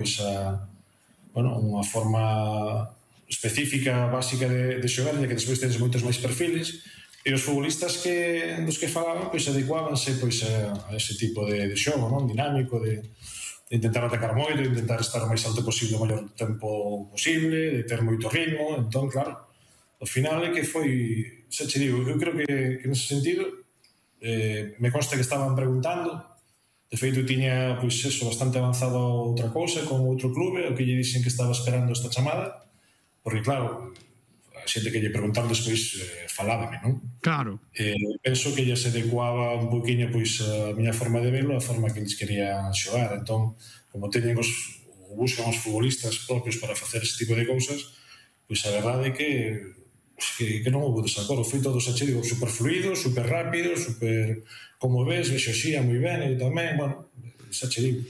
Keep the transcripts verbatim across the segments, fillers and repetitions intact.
pois a, bueno, unha forma específica, básica de, de xogar, e que despois tenes moitos máis perfiles, e os futbolistas que, dos que falaban pois adecuábanse pois a, a ese tipo de, de xogo, non? Dinámico, de, de intentar atacar moito, de intentar estar o máis alto posible o maior tempo posible, de ter moito ritmo. Entón, claro, ao final é que foi, xa che digo, eu creo que, que nese sentido eh, me consta que estaban preguntando. De feito, tiña, pois, eso, bastante avanzado outra cousa con outro clube, o que lle dixen que estaba esperando esta chamada, porque, claro, a xente que lle preguntar despois eh, falábame, non? Claro. Eh, penso que lle se adecuaba un poquinho, pois, a miña forma de velo, a forma que eles querían xogar. Entón, como teñen os, ou buscan os futbolistas propios para facer ese tipo de cousas, pois a verdade é que que, que non houve desacordo, foi todo, xa che digo, super fluido, super rápido, super, como ves, vexo xía moi ben, e tamén, bueno, xa che digo.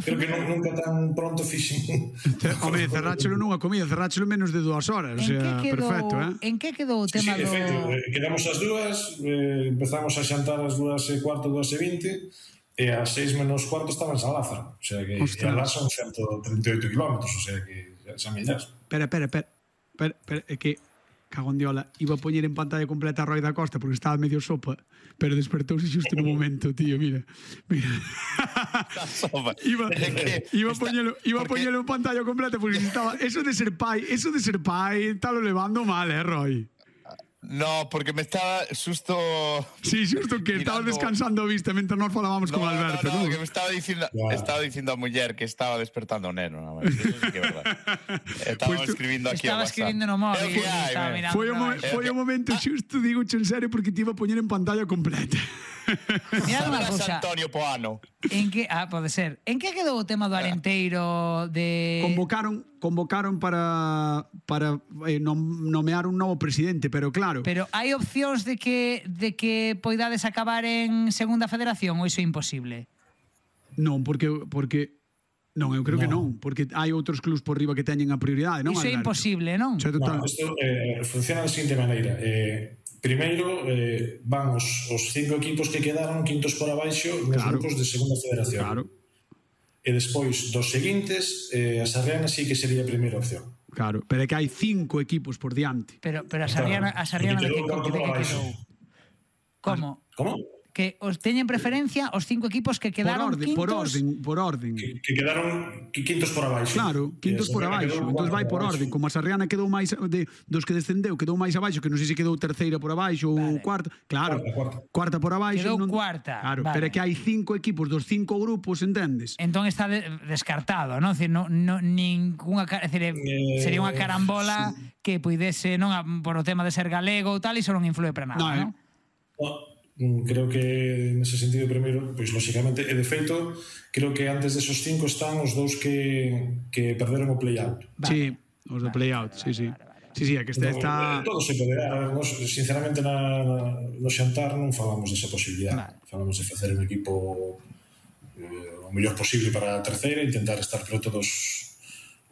Creo que non, nunca tan pronto fixen. Home, cerráchelo nunha comida, cerráchelo menos de dúas horas, o sea, perfecto, eh? En que quedou o tema do... Sí, sí, do... Eh, quedamos as dúas, eh, empezamos a xantar as dúas e cuarto, dúas e vinte, e a seis menos cuarto estaba en San Lázaro, o sea que alá son ciento trinta e oito kilómetros, o sea que xa millas. Espera, espera, espera, espera, é que cagón diola, iba a poñer en pantalla completa a Roy da Costa porque estaba medio sopa, pero despertouse xusto no momento, tío, mira. Mira. iba, iba a poñelo, iba a poñelo en pantalla completa porque estaba, eso de ser pai, eso de ser pai, está lo levando mal, eh, Roy. No, porque me estaba xusto... Sí, xusto que estaba descansando a vista mentre nos falábamos con Alberto. No, no, no, que me estaba dicindo estaba dicindo a muller que estaba despertando o neno. Eso sí que é verdad. Estaba escribindo aquí Estaba escribindo no móvil. Foi o momento xusto, digo en serio, porque te iba a poñer en pantalla completa. Mira unha cousa. Antonio Poano. En que, ah, pode ser. En que quedou o tema do Arenteiro de convocaron convocaron para para eh, nomear un novo presidente, pero claro. Pero hai opcións de que de que poidades acabar en Segunda Federación ou iso é imposible? Non, porque porque non, eu creo no. que non, porque hai outros clubs por riba que teñen a prioridade, non? Iso é imposible, non? No, isto eh, funciona da seguinte maneira. Eh, primeiro eh, van os, os cinco equipos que quedaron quintos por abaixo nos claro. grupos de Segunda Federación. Claro. E despois dos seguintes, eh, a Sarriana sí que sería a primeira opción. Claro, pero é que hai cinco equipos por diante. Pero, pero a Sarriana, a Sarriana de que, de que quedou? Como? Como? Que os teñen preferencia os cinco equipos que quedaron por orden, quintos. Por orden, por orden. Que, que quedaron quintos por abaixo. Claro, quintos por abaixo. Entón vai por orden. Como a Sarriana quedou máis de, dos que descendeu, quedou máis abaixo, que non sei se quedou terceira por abaixo ou vale. cuarta. Claro, cuarta, cuarta. cuarta por abaixo. Quedou non... cuarta. Claro, vale. pero é que hai cinco equipos dos cinco grupos, entendes? Entón está de, descartado, non? No, no, ninguna, decir, eh, sería unha carambola sí. que puidese, non, por o tema de ser galego ou tal, iso non influe para nada, non? non? No. Creo que nese sentido primeiro, pois lógicamente, e de feito creo que antes desos cinco están os dous que, que perderon o play-out. Vale. Sí, os do play-out, vale, sí, sí. Vale, vale. Sí, sí, é que este no, está... Todo se poderá. A ver, nos, sinceramente, na, no xantar non falamos desa posibilidade. Vale. Falamos de facer un equipo eh, o mellor posible para a terceira, intentar estar preto dos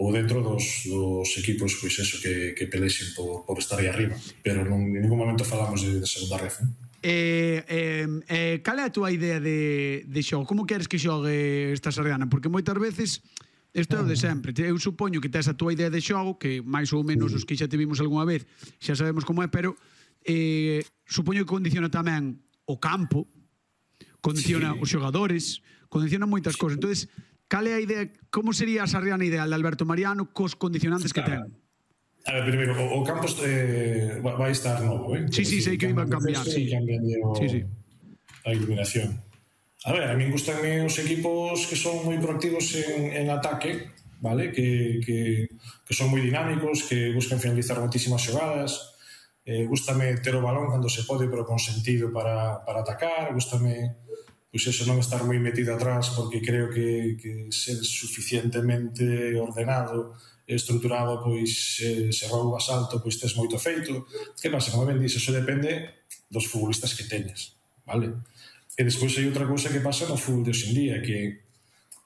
ou dentro dos, dos equipos, pois eso, que, que pelexen por, por estar aí arriba. Pero non, en ningún momento falamos de, de segunda ref, non? Eh, eh, eh, cal é a túa idea de, de xogo? Como queres que xogue esta Sarriana? Porque moitas veces isto é o de sempre. Eu supoño que tes a túa idea de xogo, que máis ou menos os que xa te vimos algunha vez xa sabemos como é, pero eh, supoño que condiciona tamén o campo, condiciona sí. os xogadores, condiciona moitas cousas. Entonces, cal é a idea, como sería a Sarriana ideal de Alberto Mariano cos condicionantes que ten? A ver, primeiro, o, o campo eh, vai estar novo, eh? Sí, sí, sei que iban a cambiar, sí. O, sí, sí. A iluminación. A ver, a mí gustanme os equipos que son moi proactivos en, en ataque, vale? Que, que, que son moi dinámicos, que buscan finalizar moitísimas xogadas. Eh, gústame ter o balón cando se pode, pero con sentido para, para atacar. Gústame, pois eso, non estar moi metido atrás, porque creo que, que ser suficientemente ordenado estruturado, pois se, se roubas alto, pois tes moito feito. Que pasa? Como ben dixes, eso depende dos futbolistas que teñes, vale? E despois hai outra cousa que pasa no fútbol de hoxendía, que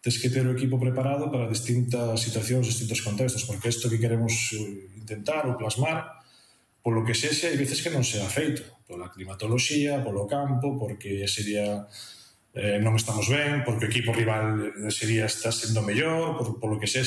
tes que ter o equipo preparado para distintas situacións, distintos contextos, porque isto que queremos intentar ou plasmar, polo que sexa, hai veces que non sea feito, pola climatoloxía, polo campo, porque sería eh, non estamos ben, porque o equipo rival sería está sendo mellor, por, por lo que sea,